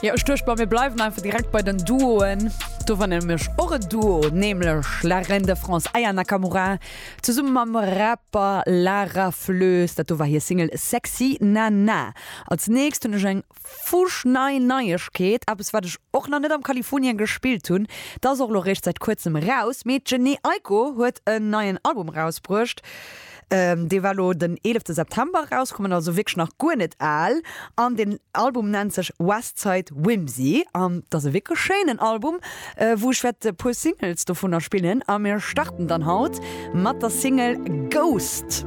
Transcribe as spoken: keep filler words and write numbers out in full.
Jo, ech duecht mer, mir bleiwen einfach direkt bei den Duoen. Do war nämlech och en Duo, nämlech La Reine de France Aya Nakamura zesumme mam Rapper Lara Flös. Dat do war hir Single Sexy Nana. Als nächst hunn ech eng fuschnei Neiegkeet, eppes wat ech och nach net am Kalifornien gespillt hunn. Dat ass och elo réischt säit kuerzem eraus, mee d'Jhené Aiko huet en neien Album erausbruecht. Dee war elo den eelefte September erauskommen, also wierklech nach guer net al. An den Album nennt sech Westside Whimsy an et ass e wierklech schéinen Album, wou ech wäert e puer Singles dovunner spillen. A mir starten dann haut mat der Single Ghost.